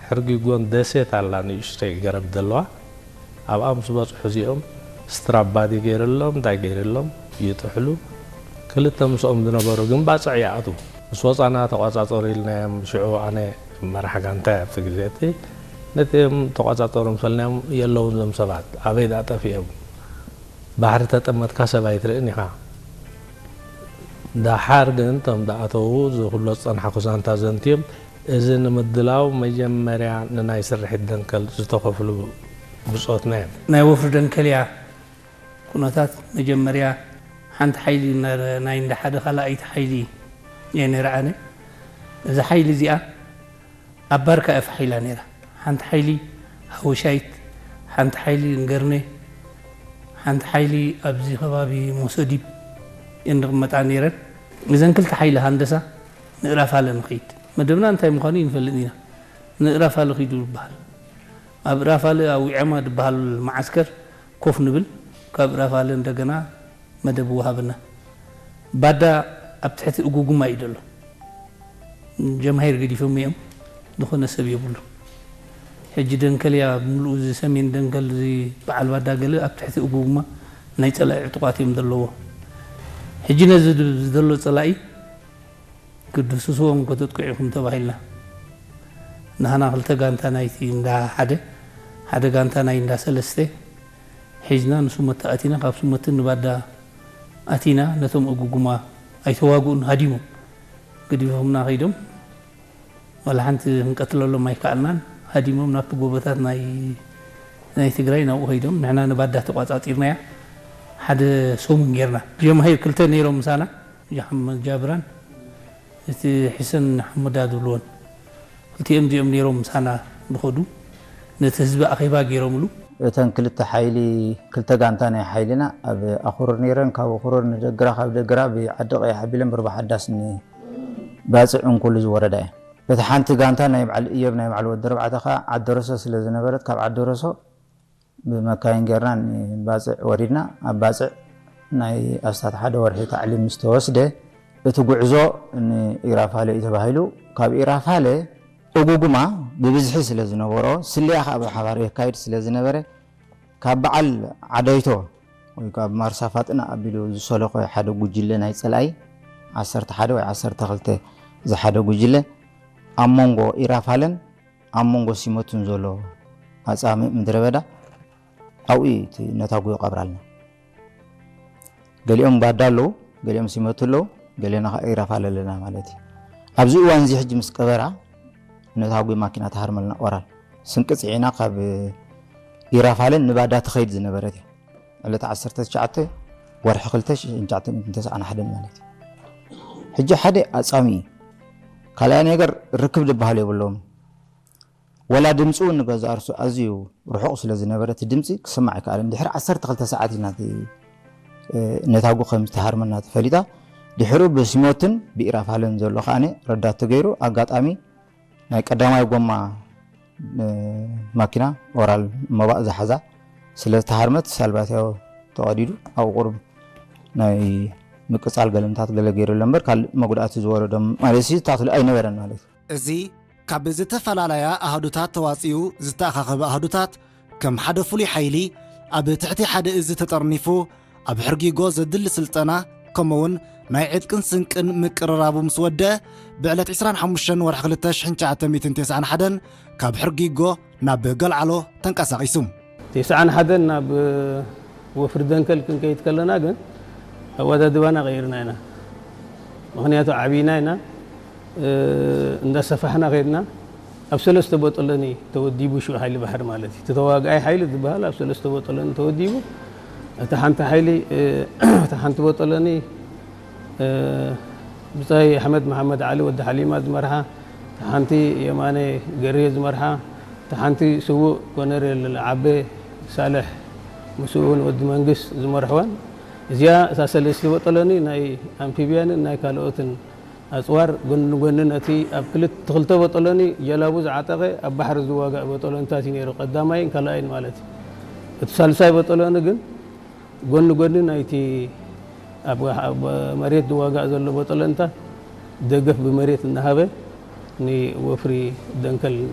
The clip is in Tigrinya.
ሕርጊጎን ደሴት ኣላ ንእሽተይ ገረብ ዘለዋ። ኣብኣ ምስ በጽሑ እዚኦም ስትራባዲ ገይርሎም እንታይ ገይርሎም ይጥሕሉ። ክልተ ምስኦም ዝነበሩ ግን ባጽዕ ይኣትዉ። ምስ ወጻና ተቋጻጸሩ ኢልናዮም። ሽዑ ኣነ መራሕ ጋንታ ኣብቲ ግዜ እቲ ነቲኦም ተቋጻጸሩ ምስ በልናዮም የለውን እዞም ሰባት ኣበይ ደኣ ጠፊኦም። ባሕሪ ተጠመትካ ሰብ ኣይትርእን ኢኻ። ደሓር ግን እቶም ዝኣተዉ ዝኹሎ ዝጸንሓ ኩሳንታ ዘንትዮም። እዚ ንምድላው መጀመርያ ንናይ ስርሒት ደንከል ዝተኸፍሉ ብጾትና እዮም። ናይ ወፍሪ ደንከል እያ ኩነታት መጀመርያ ሓንቲ ሓይሊ ናይ እንዳ ሓደ ካልኣይቲ ሓይሊ እየ ነይረ ኣነ። እዛ ሓይሊ እዚኣ ኣብ ባርካ እያ ፋሕ ኢላ ነይራ። ሓንቲ ሓይሊ ሃወሻይት፣ ሓንቲ ሓይሊ እንገርነ፣ ሓንቲ ሓይሊ ኣብዚ ከባቢ ሞሶዲብ እየን ዝቕመጣ ነይረን። እዘን ክልተ ሓይሊ ሃንደሳ ንእራፋለ ንኸይድ። መደብና እንታይ ምዃኑ ይንፈልጥ ኢና። ንእራፋለ ኺዱ ይበሃል። ኣብ እራፋለ ኣብ ዊዐማ ዝበሃል መዓስከር ኮፍ ንብል። ካብ እራፋለ እንደገና መደብ ወሃብና። ባዳ ኣብ ትሕቲ እጉጉማ እዩ ዘሎ። ጀምሃይር ገዲፎም እዮም። ዝኾነ ሰብ የብሉ። ሕጂ ደንከል እያ ብምልኡ፣ እዚ ሰሜን ደንከል፣ እዚ በዓል ባዳ ገለ ኣብ ትሕቲ እጉጉማ ናይ ጸላኢ ዕጡቓት እዮም ዘለዎ። ሕጂ ነዚ ድ-፣ ዘሎ ጸላኢ ክድህስስዎም ከተጥቅዑ ኢኹም ተባሂልና። ንሃና ክልተ ጋንታ ናይቲ እንዳ ሓደ፣ ሓደ ጋንታ ናይ እንዳ ሰለስተ ሒዝና ንስሞቲ ኣቲና፣ ካብ ስሞቲ ንባዳ ኣቲና፣ ነቶም እጉጉማ ኣይተዋግኡን፣ ሃዲሞም። ገዲፎምና ከይዶም፣ ዋላ ሓንቲ ክንቀትለሎም ኣይከኣልናን። ሃዲሞም ናብቲ ጎቦታት ናይ፣ ናይ ትግራይ ናብኡ ከይዶም፣ ንሕና ንባዳ ተቋጻጺርናያ። ሓደ ሰሙን ጌርና። ጀምሃይር ክልተ ነይሮም ምሳና፣ ጃሓመድ ጃብራን እቲ ሕሰን ሓመዳ ዝብልዎን። ክልቲኦም እዚኦም ነይሮም ምሳና ዝኸዱ፣ ነቲ ህዝቢ ኣኼባ ገይሮምሉ። እተን ክልተ ሓይሊ፣ ክልተ ጋንታ ናይ ሓይልና ኣብ ኣኹርር ነይረን። ካብ ኣኹርር ንደግራ፣ ካብ ደግራ ብዓዲ ቀይሕ ኣቢለን ብርባሓዳስ ንባጽዕ እንኩሉ ዝወረዳ እየን። እታ ሓንቲ ጋንታ ናይ በዓል እዮብ፣ ናይ በዓል ወዲ ኣርባዕተ ኸኣ ዓደረሶ ስለ ዝነበረት፣ ካብ ዓደረሶ ብመካይን ጌርና ንባጽዕ ወሪድና። ኣብ ባጽዕ ናይ ኣስታት ሓደ ወርሒ ታዕሊም ምስ ተወስደ፣ እቲ ጉዕዞ ንኢራፋለ እዩ ተባሂሉ። ካብ ኢራፋለ እጉጉማ ብብዝሒ ስለ ዝነበሮ፣ ስልያ ኸኣ ብሓባር የካይድ ስለ ዝነበረ፣ ካብ በዓል ዓደይቶ ወይ ካብ ማርሳ ፋጥና ኣቢሉ ዝሰለኾ ሓደ ጉጅለ ናይ ጸላኢ፣ ዓሰርተ ሓደ ወይ ዓሰርተ ክልተ ዝሓደ ጉጅለ፣ ኣብ መንጎ ኢራፋለን ኣብ መንጎ ሲመቱን ዘሎ ኣጻምእ ምድረ በዳ፣ ኣብኡ እዩ እቲ ነታጉ ይቐብራልና። ገሊኦም ባዳ ኣለዉ፣ ገሊኦም ሲመቱ ኣለዉ፣ ገሊና ኸዓ ኢራፋለ ኣለና ማለት እዩ። ኣብዚ እዋን እዚ ሕጂ ምስ ቀበራ ነታጉ ማኪና ትሃርመልና ኦራል። ስንቂ ጽዒና ካብ ኢራፋለን ንባዳ ትኸይድ ዝነበረት እያ። ዕለት ዓሰርተ ትሽዓተ ወርሒ ክልተ ሽሕን ትሽዓተ ሚእትን ተስዓን ሓደን ማለት እዩ። ሕጂ ሓደ ኣጻሚ እዩ። ካልኣይ ነገር ርክብ ዝበሃል የብሎም። ወላ ድምፂ እውን ንገዛ እርሱ ኣዝዩ ርሑቕ ስለ ዝነበረ እቲ ድምፂ ክስማዕ ኣይከኣለን። ድሕሪ ዓሰርተ ክልተ ሰዓት ኢና እቲ፣ እ፣ ነታጉ ከም ዝተሃርመና ተፈሊጣ። ድሕሩ ብሲሞትን ብኢራፋለን ዘሎ ከኣነ ረዳት ተገይሩ፣ ኣጋጣሚ ናይ ቀዳማይ ጎማ፣ እ፣ ማኪና ኦራል መባእ ዝሓዛ ስለ ዝተሃርመት ሳልባትያው ተቐዲዱ፣ ኣብኡ ቁሩብ ናይ ምቅጻል ገለምታት ገለ ገይሩ ኣሎ እምበር፣ ካልእ መጉዳእቲ ዝወረዶም ማለት ሲ ታክሊ ኣይነበረን ማለት እዩ። እዚ ካብ ዝተፈላለያ ኣሃዱታት ተዋጺኡ ዝተኣኻኸበ ኣሃዱታት፣ ከም ሓደ ፍሉይ ሓይሊ ኣብ ትሕቲ ሓደ እዚ ተጠርኒፉ፣ ኣብ ሕርጊጎ ዘድሊ ስልጠና፣ ከምኡውን ናይ ዕጥቅን ስንቅን ምቅርራቡ ምስ ወደአ፣ ብዕለት ዕስራን ሓሙሽተን ወርሒ ክልተ ሽሕን ትሽዓተ ሚእትን ተስዓን ሓደን ካብ ሕርጊጎ ናብ ገልዓሎ ተንቀሳቒሱ። ተስዓን ሓደን ናብ ወፍሪ ደንከል ክንከይድ ከለና ግን ኣወዳድባና ቀይርና ኢና። ምኽንያቱ ዓብይና ኢና፣ እ፣ እንዳሰፋሕና ከይድና። ኣብ ሰለስተ ቦጦሎኒ ተወዲቡ ሽዑ ሓይሊ ባሕሪ ማለት እዩ። እቲ ተዋጋኣይ ሓይሊ ዝበሃል ኣብ ሰለስተ ቦጦሎኒ ተወዲቡ። እታ ሓንቲ ሓይሊ፣ እ፣ እታ ሓንቲ ቦጦሎኒ፣ እ፣ ብጻይ ኣሕመድ መሓመድ ዓሊ ወዲ ሓሊማ ዝመርሓ፣ እታ ሓንቲ የማነ ገርየ ዝመርሓ፣ እታ ሓንቲ ስዉእ ኮነሬል ዓቤ ሳልሕ፣ ምስኡ እውን ወዲ መንግስ ዝመርሕወን። እዚኣ እታ ሰለስተ ቦጦሎኒ ናይ ኣምፊብያንን ናይ ካልኦትን ኣጽዋር ጎኒ ንጎኒ ነቲ ኣብ ክልተ፣ ክልተ ቦጦሎኒ ጀላቡ ዝዓጠቐ ኣብ ባሕሪ ዝዋጋእ ቦጦሎንታት እዩ ነይሩ፣ ቀዳማይን ካልኣይን ማለት እዩ። እቲ ሳልሳይ ቦጦሎኒ ግን ጎኒ ጎኒ ናይቲ ኣብ፣ ኣብ መሬት ዝዋጋእ ዘሎ ቦጦሎንታት ደገፍ ብመሬት እናሃበ ንወፍሪ ደንከል